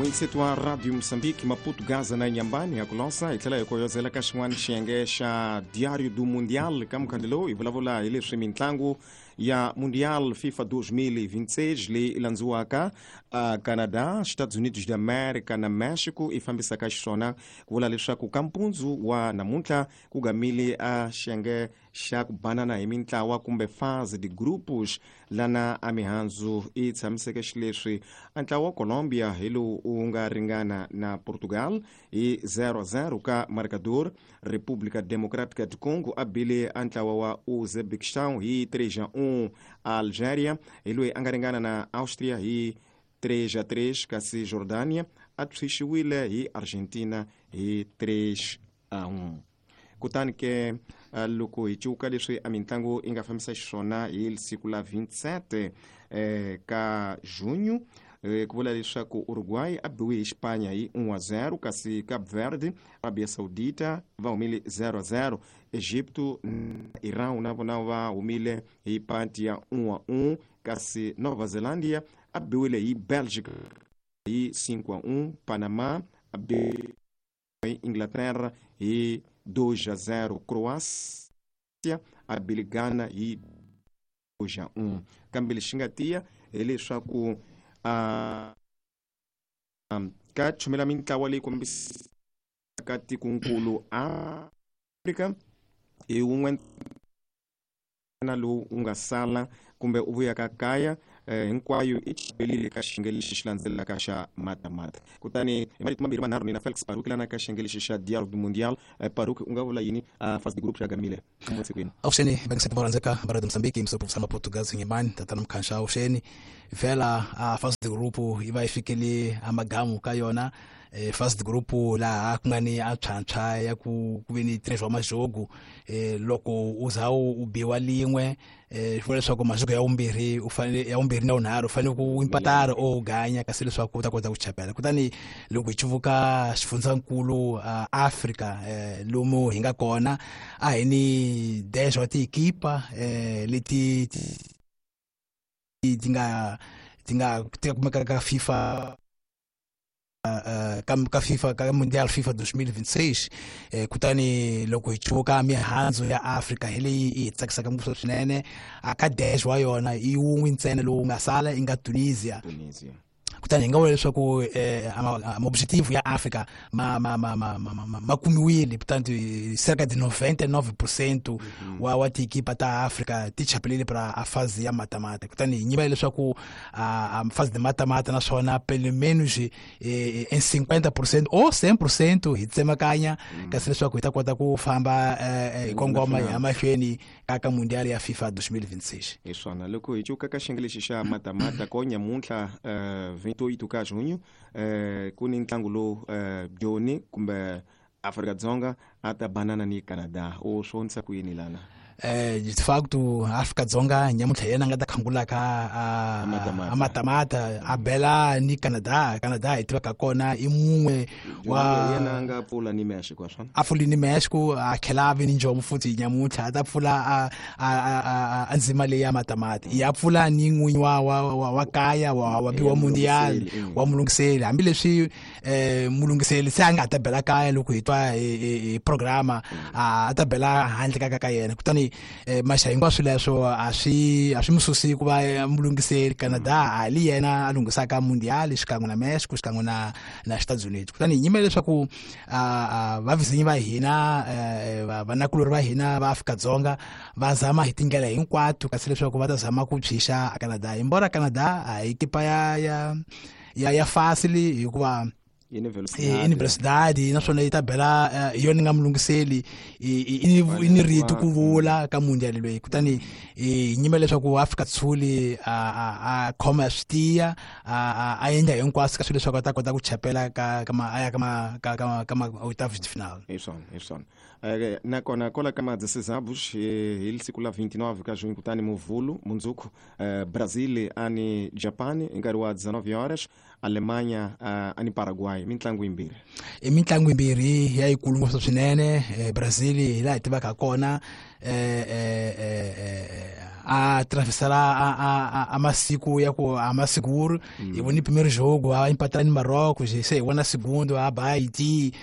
Muyingiseti wa Radio Moçambique, Maputo, Gaza na Inhambane ya ku losa hi tlhela hi koyozela ka xin'wana xiyenge xa Diário do Mundial ka mukhandlu lowu hi vulavula hi leswi mintlangu ya Mundial FIFA 2026 leyi landziwaka Canada, Estados Unidos de América na Mexico i fambisaka xiswona. Ku vula leswaku ka mpundzu wa namuntlha ku gamile a xiyenge xa ku banana hi mintlawa kumbe fase de grupos, lana a mihandzu i tshamiseke xileswi. A ntlawa wa Colombia hi lowu wu nga ringana na Portugal hi 0-0 ka marcador. República Democrática do Congo a bile a ntlawa wa Uzbekistan hi 3-1. Algeria hi loyi a nga ringana na Austria hi 3-3, kasi Jordania a tshwixiwile hi Argentina hi 3-1. Kutani ke loko hi cuka leswi a mitlangu yi nga fambisa xiswona hi siku la 27 ka junho, ku vula leswaku Uruguay a biwe hi Xipanya hi 1-0, kasi Cape Verde, Arabia Saudita va humile 0-0. Egipto na Iran na vona va humile hi panti ya 1-1, kasi Nova Zelândia a biwile hi Belgica hi 5-1. Panama a biwe hi Inglaterra hi 2-0. Croácia a bile Ghana hi 2-1. Kambe lexi nga tiya hileswaku ka chumela mintlawa leyi kombisaka tikonkulu Afrika hi wun'we na lowu u nga sala kumbe u vuyaka kaya, hinkwayo i chapelile ka xiyenge lexi xi landzelaka xa matamata. Kutani hi marito mambirhi manharhu nina Felix Paruki lana ka xiyenge lexi xa Diário do Mundial. Paruki, u nga vula yini fase de group xa gamile sikwini? Avuxeni vakingiseti va rhandzeka va Radio Mozambique, msopufisa Maportugal Nyimani, tatana Mkhansha. Avuxeni vhela. A fase de group yi va yi fikele amagamu ka yona. Fase de group laha ku nga ni a tshwantshwa ya ku ve ni 3 wa majogo, loko u za u biwa lin'we, swi vula leswaku majogo ya vumbirhi u fanele, ya vumbirhi na vunharhu u fanele ku impatara o ganya, kasi leswaku u ta kota ku chapela. Kutani loko hi cuvuka xifundzankulu Afrika, lomu hi nga kona, a hi ni 10 wa tiekipa leti ti nga kumeka ka FIFA, ka FIFA, ka Mundial FIFA 2026. Kutani loko hi cuvuka mihandzu ya Afrika hi leyi yi tsakisaka ngopfu swinene, a ka 10 wa yona i wun'we ntsena lowu nga sala, i nga Tunisia. Tunisia. Kutani hi nga vula leswaku ma-objective ya Afrika ma kumiwile. Kutani cerca de 99% wa tiekipa ta Afrika ti chapelile para a fase ya matamata. Kutani hi nyiva leswaku a fase de matamata, naswona pelo menos em 50% ou 100% hi tsemakanya, kasi leswaku hi ta kota ku famba hi kongoma hi ya mahlweni ka Mundial ya FIFA 2026. Hi swona, loko hi cuka ka xiyenge lexi xa matamata ko nyamuntlha, 28 ka junho, ku ni ntlangu lowu Joni kumbe Afrika-Dzonga a ta banana ni Canada. U swi vonisa ku yini lana? De facto Afrika-Dzonga nyamuntlha yena a nga ta khangulaka Amatamata. A matamata a bela ni Canada. Canada hi tivaka kona i mun'we wa Yena a nga pfula ni Mexico, swona. A pfuli ni Mexico, a tlhela a vi ni njomu futhi. Nyamuntlha a ta pfula a ndzima leyi ya matamati, ya pfula ni n'winyi wa kaya wa biwa Mundial. Mulungiseli. Wa mulungiseli, hambileswi mulungiseli se a nga ta bela kaya, loko hi twa hi programa a ta bela handle ka yena. Kutani maxa hinkwaswo leswo a swi mu susi ku va mulungiseli. Canada a li yena a lunghisaka Mundial xikan'we na Mexico, xikan'we na Estados Unidos. Kutani hi nyimela leswaku vavizinyi va hina, vanakulori va hina va Afrika-Dzonga va zama hi tindlela hinkwato, kasi leswaku va ta zama ku tshwixa a Canada. Embora Canada a hi kipa ya fácil, hikuva Yi ni i ni velocidade, naswona yi ta bela hi yona nga mulungiseli, i ni rito ku vula ka Mundial loyi. Kutani hi nyimela leswaku Afrika Tshuli a khoma swi tiya, a endla hinkwaswo ka swilo leswaku a ta kota ku chapela ka ma a ya ka ma oitavos de final. Hi swona, hi swona. Nakona kola ka ma-16 hi siku la 29 ka junho, kutani muvhulu mundzuku, Brazil ani Japan hi nkarhi wa 19 horas, Alemanha ani Paraguay, mitlangu yimbirhi. I mitlangu yimbirhi ya yikulu ngopfu swinene. Brazil hi laha hi tivaka kona. a atravessar a masiku ya ku a maseguro. Hi vone primeiro jogo a empatela ni Marrocos, se hi vona segundo a ba Haiti,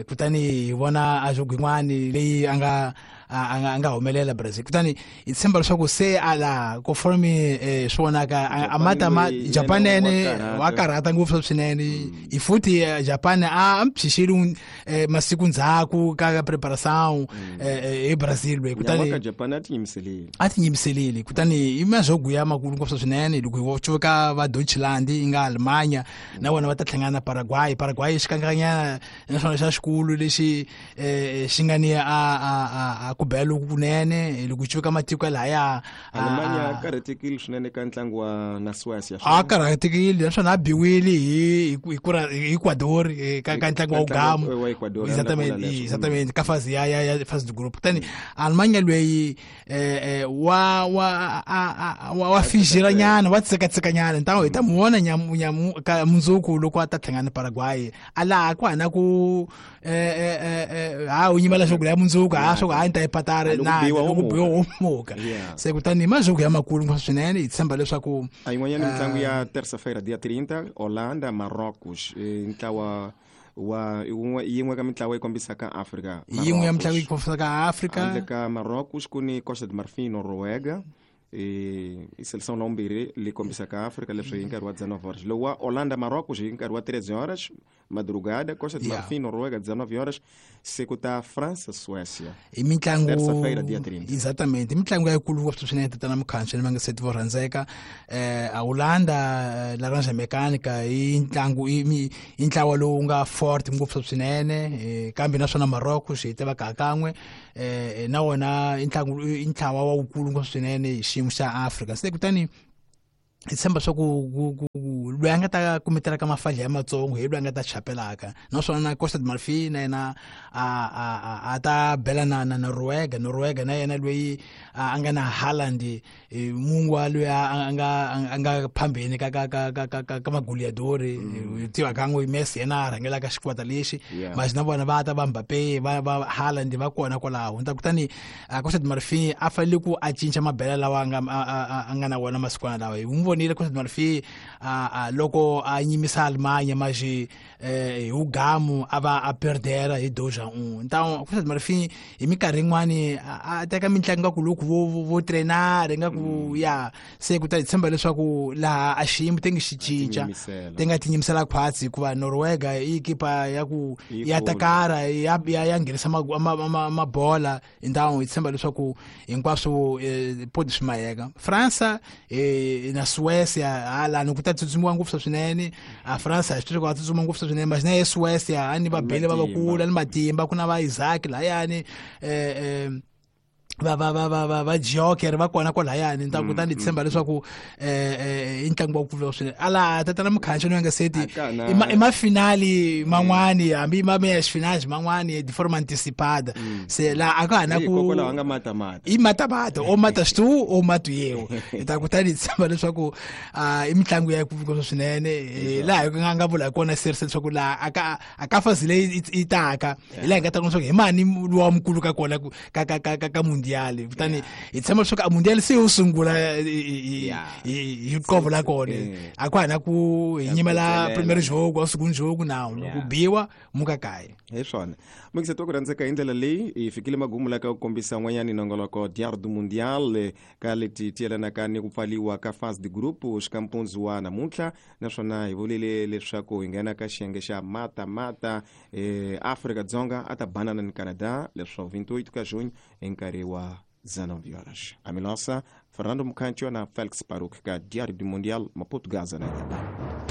kutani hi vona a jogo yin'wani leyi a nga a nga humelela Brazil. Kutani hi tshemba leswaku se a la conforme swi vonaka a mata ma Japan ene wa karhata ngopfu swinene. Hi futhi Japan a mpshixile masiku ndzhaku ka preparação hi Brazil loyi. Kutani Japan a tinyimiselile, a tinyimiselile. Kutani i majogo ya makulu ngopfu swinene. Loko hi cuka va Deutschland yi nga Alemanya, na vona va ta hlangana na Paraguay. Paraguay xikanganyana naswona xa xikulu lexi xi nga ni a ku bela loku kunene loko cuka matiko lahaya. Alemanya a karhatekile swinene ka ntlangu wa na Suecia. A karhatekile naswona a biwile hi Ecuador ka ntlangu wa ugamu. Exactamente, ka fase ya fase de groupe. Kutani Alemanya loyi wa wa wa fijira nyana, wa tsekatsekanyana, ntawo hi ta mu vona nyamu ka mundzuku loko a ta hlangana na Paraguay. A laha ku hana ku ha u nyimela swo ya mundzuku ha swo ha ni ta yi patara na loko biwa wo muka. Se kutani majogo ya makulu ngopfu swinene, hi tshemba leswaku a yin'wanyana mitlangu ya terça-feira dia 30, Holanda Marrocos, ntlawa wa yin'we ka mitlawa yi kombisaka Afrika. Yin'we ya mitlangu yi kombisaka Afrika. Handle ka Marrocos ku ni Costa de Marfin, Noruega, i seleção la vumbirhi leyi kombisaka Afrika, leswi hi nkarhi wa 19 horas. Lowu wa Holanda Marrocos hi nkarhi wa 13 horas madrugada, Costa de Marfin Noruega 19 horas, se ku ta França Suécia. I mitlangu terça-feira dia 30. Exatamente, mitlangu ya yikulu ngopfu swinene tatana Mukhanyo ni mangaseti vo rhandzeka. A Holanda Laranja Mecânica i ntlangu i ntlawa lowu nga fort ngopfu swinene, kambe naswona Marrocos hi tiva ka kan'we na wona i ntlangu i ntlawa wa wukulu ngopfu swinene hi xiyimo xa Afrika. Se kutani hi tshemba swa ku loyi a nga ta kumetela ka mafadla ya matsongo hi loyi a nga ta chapelaka. Naswona na Costa de Marfin na yena a ta bela na Noruega. Noruega na yena loyi a nga na Haaland, mungwa loyi a nga phambeni ka ka ka ka ka ka magoleadori, tiva kan'we Messi yena a rhangelaka xikwata lexi, mas na vona va ta va Mbappe va Haaland va kona kwalaho. Nta kutani Costa de Marfin a fanele ku a cinca mabela lawa a nga na wona masikwana lawa. Hi n'wi vonile Costa de Marfin loko a nyimisa Alemanya maji hi ugamu a va a perdera hi 2-1. Então Costa de Marfin hi minkarhi yin'wani a teka mitlangu nga ku loko vo trenar nga ku ya se ku ta hi tshemba leswaku laha a xiyimo te ngi xi cinca, te nga tinyimisela khwatsi, hikuva Noruega i ekipa ya ku ya takara ya ya nghenisa mabola. Então hi tshemba leswaku hinkwaswo podi swi mayeka. Fransa na Suécia hala ni ku ta tsutsumiwa ngopfu swinene. A Fransa swi ku tsutsuma ngopfu swinene, mas na Suécia a ni va bele va vakulu ni matimba, ku na va Isaac layani va va va va va va Joker va kona kwalayani. Nta kutani tshemba leswaku i ntlangu wa ku swinene. Ala tatana Mukhanyo ni nga seti i mafinali man'wani, hambi ma meias finais man'wani de forma antecipada. Se la a ka na ku nga mata i mata mata o matas tu o mato eu. Nta kutani tshemba leswaku i mitlangu ya ku swinene laha hi nga vula kona serse leswaku la aka fazile itaka hi laha hi nga ta leswaku hi mani lowa mukulu ka kona ka ka ka ka mundial. Kutani hi tshemba leswaku a mundial se yo sungula hi qovo la kona, a ku hana ku hi nyimela primeiro jogo a segundo jogo na ku biwa muka kaya. Hi swona mukiseti wa ku rhandzeka hi ndlela leyi hi fikile magumu la ka ku kombisa n'wanyani nongoloko Diário do Mundial ka leti ti yelanaka ni ku pfaliwa ka fase de groupe xikampunzu wa namuntlha. Naswona hi vulile leswaku hi nghena ka xiyenge xa mata mata, Afrika Dzonga a ta banana ni Canada leswaku 28 ka junho hi nkarhi wa 19 horas. A Milosa, Fernando Mukhancho na Felix Paruk ka Diário do Mundial, Maputo, Gaza na Inhambane.